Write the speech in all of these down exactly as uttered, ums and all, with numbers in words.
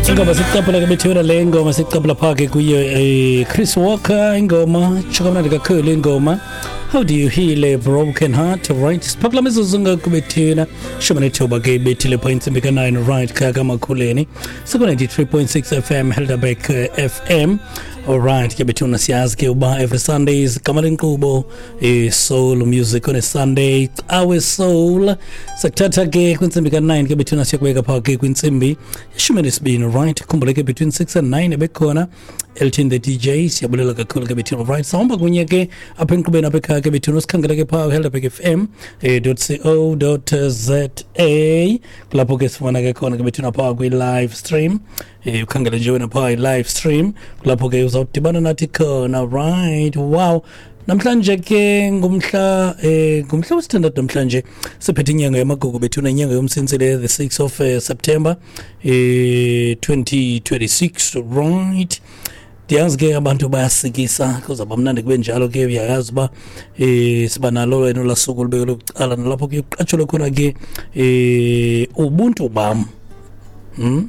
Ingoma sicaphula ke bethuna le ngoma sicaphula phake kuyo eh, Chris Walker ingoma tsho kamnandi kakhulu ingoma How Do You Heal a Broken Heart right siphakula mizuzu ngakubethuna shumi nethoba ke ibethile pha intsimbi ka-nine right khaya kamakhuleni siku-ninety-three point six F M Helderberg F M alright ke bethuna siyazi ke uba every Sundays gama lenkqubo i-soul music on a Sunday our soul sakuthatha ke kwintsimbi ka-nine ke bethuna siyakubeka phaa ke kwintsimbi yeshumi nesibini right khumbule ke between six and nine ebekhona Elton the D J siyabulela kakhulu ke bethuna right sahamba kunye ke apha enkqubeni apha ekhaya ke bethuna sikhangela ke phaa Helderberg F M eh, co za kulapho ke sifumana ke khona ke bethuna phaa kwi-live stream eh ukhangele nje wena phaa i-live stream kulapho ke uzawudibana nathi khona right wow namhlanje ke ngumhla eh ngumhla wesithandathu namhlanje siphethe inyanga yamagugu bethuna inyanga yomsintsi le the sixth of uh, September eh twenty twenty-six right ndiyazi ke abantu bayasikisa kuzawuba mnandi kube njalo ke uyayazi uba eh siba nalo wena olaa suku olubekele bucala nalapho ke kuqatshelwe khona ke eh ubuntu bam hmm?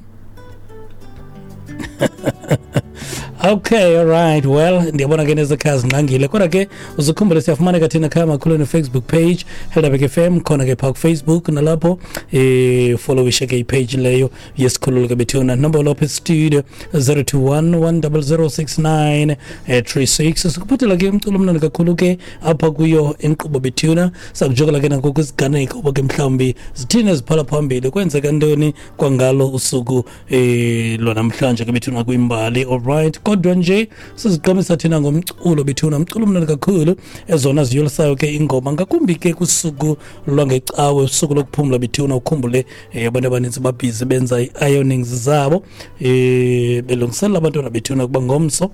Okay, all right. Well, ndiyabona ke nezekhaya zinqangile kodwa ke uzukhumbule siyafumaneka thina khaya makhulu Facebook page Helderberg F M khona ke phaa kufacebook nalapho eh followishe ke ipage leyo yesikhululo ke bethuna number lapho studio zero two one one zero zero six nine three six sikuphathela ke umculo omnandi kakhulu ke apha kuyo inkqubo bethuna sakujokela ke nako kwisiganeko uba ke mhlawumbi zithini eziphala phambili kwenzeka ntoni kwangalo usuku eh lwanamhlanje ke bethuna kwimbali all right kodwa nje siziqamisa thina ngomculo bethuna umculo omnandi kakhulu ezona ziyolisayo ke ingoma ngakumbi ke kusuku lwangecawe usuku lokuphumla bethuna ukhumbule eh, abantu abaninzi babhizi benza ii-ironings zabo eh belungiselela abantwana bethuna kuba ngomso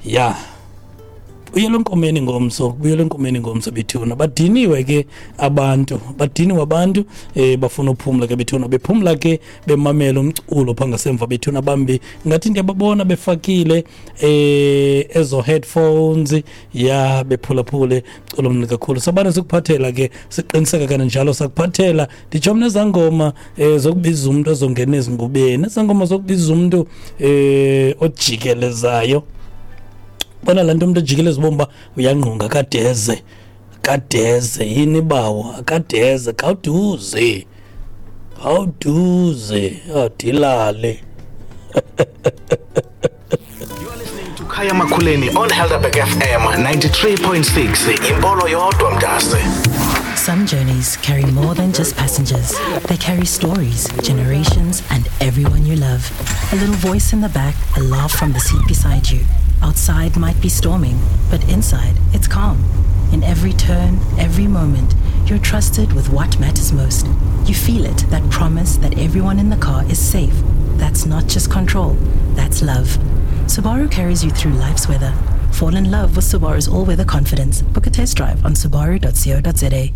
ya uyela enkomeni ngomso uyela enkomeni ngomso bethuna badiniwe ke abantu badiniwe abantu eh bafuna uphumla ke bethuna bephumla ke bemamela umculo pha ngasemva bethuna bambi ngathi ndiyababona befakile eh ezo headphones ya bephulaphule culo mnandi kakhulu sabane sikuphathela ke siqiniseka kananjalo sakuphathela nditsho mna ezangoma eh zokubiza umuntu ozongena ezingubeni ezangoma zokubiza umuntu eh ojikelezayo bona laa nto umntu ejikeleza ubomi uba uyangqunga kadeze kadeze yini bawo akadeze khawuduze khawuduze adilale To Khaya Makhuleni on Helderberg F M ninety-three point six Impolo yodwa mntase. Some journeys carry more than just passengers. They carry stories, generations, and everyone you love. A little voice in the back, a laugh from the seat beside you. Outside might be storming, but inside it's calm. In every turn, every moment, you're trusted with what matters most. You feel it, that promise that everyone in the car is safe. That's not just control, that's love. Subaru carries you through life's weather. Fall in love with Subaru's all weather confidence. Book a test drive on subaru dot co dot za.